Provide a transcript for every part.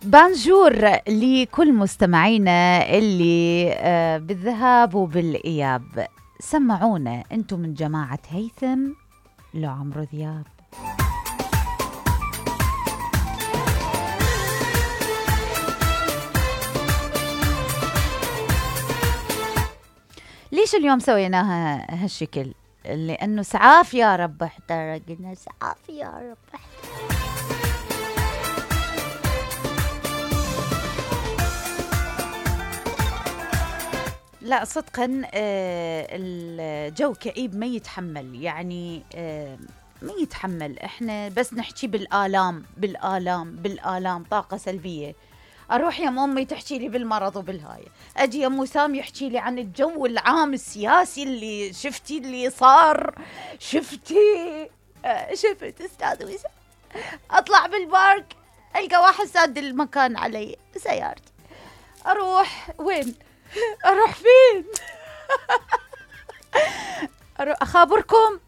بانجور لكل مستمعينا اللي بالذهاب وبالإياب. سمعونا انتم من جماعة هيثم لو عمرو دياب. ليش اليوم سويناها هالشكل؟ لأنه سعاف يا رب احترقنا، سعاف يا رب لا صدقا الجو كئيب ما يتحمل، يعني ما يتحمل. احنا بس نحكي بالآلام بالآلام بالآلام، طاقة سلبية. اروح يا امي تحكي لي بالمرض وبالهاي، اجي يا وسام يحكي لي عن الجو العام السياسي اللي شفتي اللي صار. شفت استاذ وسام، اطلع بالبارك القى واحد ساد المكان علي سيارتي، اروح وين؟ اروح فين؟ اروح اخابركم،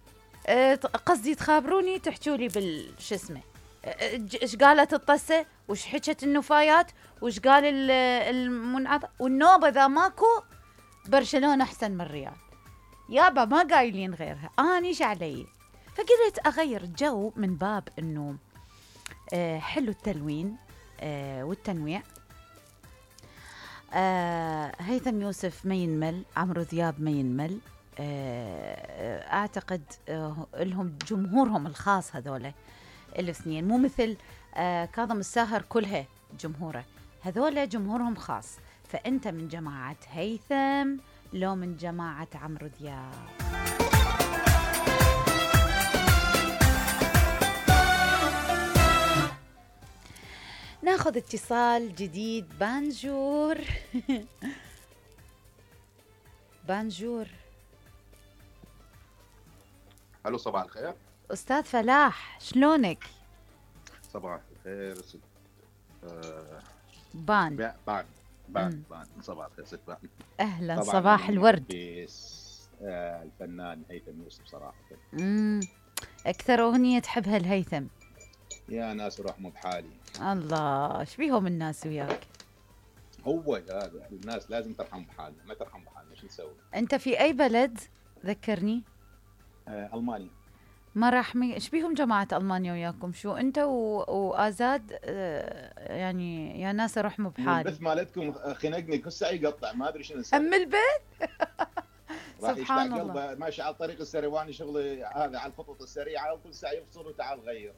قصدي تخابروني تحكوا لي بالش اسمه، ايش قالت الطسه، وش حكت النفايات، وش قال المنعطف والنوبه. ذا ماكو برشلونه احسن من الريال يابا، ما قايلين غيرها. انيش علي، فقلت اغير الجو من باب انه حلو التلوين والتنويع. هيثم يوسف ما ينمل، عمرو دياب ما ينمل. اعتقد لهم جمهورهم الخاص هذولا الاثنين، مو مثل كاظم الساهر كلها جمهوره، هذولا جمهورهم خاص. فانت من جماعة هيثم لو من جماعة عمرو دياب؟ ناخذ اتصال جديد. بانجور بانجور. الو صباح الخير استاذ فلاح، شلونك؟ صباح الخير ست بان صباح الخير ست بان. اهلا، صباح الورد. الفنان هيثم يوسف صراحه اكثر اغنيه تحبها الهيثم؟ يا ناس روح مو بحالي. الله، ايش بيهم الناس وياك؟ هو هذا الناس لازم ترحم بحالنا، ما ترحم بحالنا شو نسوي؟ انت في اي بلد ذكرني؟ المانيا. ما راح ايش بيهم جماعه المانيا وياكم؟ شو انت وازاد يعني يا ناس اروح مو بحالي. البث مالتكم خنقني كل ساعه يقطع، ما ادري شنو نسوي. البيت سبحان الله، ماشي على الطريق السريواني، شغلي هذا على الخطوط السريعه وكل ساعه يفصل وتعال غير.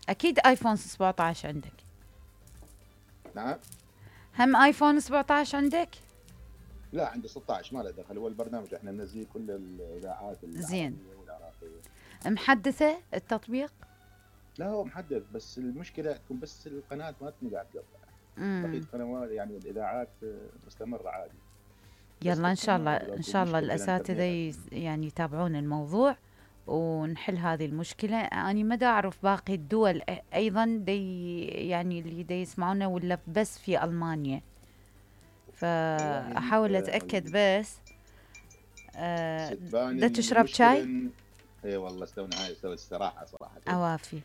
اكيد ايفون 17 عندك؟ نعم. هم ايفون 17 عندك؟ لا عندي 16 ما له دخل، هو البرنامج احنا ننزل كل الاذاعات زين. محدثه التطبيق؟ لا هو محدث، بس المشكله تكون بس القناه ما قاعد تقطع. بقيه القنوات يعني الاذاعات مستمره عادي. يلا ان شاء الله ان شاء الله الاساتذه يعني يتابعون الموضوع ونحل هذه المشكله. اني ما دا اعرف باقي الدول ايضا دي يعني اللي دي يسمعونا ولا بس في المانيا، فاحاول اتاكد. بس دا تشرب شاي؟ اي والله استونا هاي استوى الصراحه صراحه اوافي.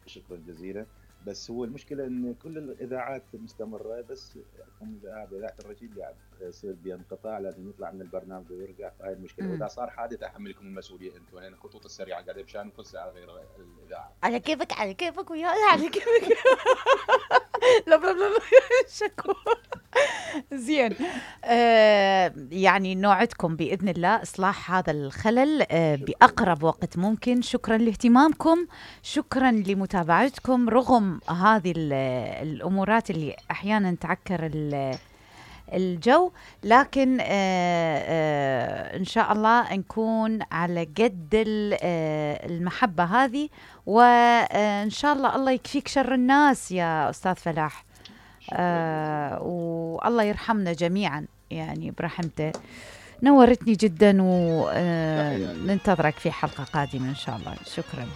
شكرا جزيلا. بس هو المشكله ان كل الاذاعات مستمره، بس اذاعه الرشيد قاعد يصير بانقطاع، لازم يطلع من البرنامج ويرجع. هاي المشكله. واذا صار حادث احملكم المسؤوليه انتم، لان الخطوط السريعه قاعده بشان كل ساعه غير الاذاعه. على كيفك على كيفك وياي على كيفك. لا لا لا شكور. زين. يعني نوعدكم بإذن الله إصلاح هذا الخلل بأقرب وقت ممكن. شكرا لاهتمامكم، شكرا لمتابعتكم رغم هذه الأمورات اللي أحيانا تعكر الجو، لكن إن شاء الله نكون على قد المحبة هذه، وإن شاء الله يكفيك شر الناس يا أستاذ فلاح. والله يرحمنا جميعا يعني برحمته. نورتني جدا وننتظرك في حلقة قادمة إن شاء الله. شكرا.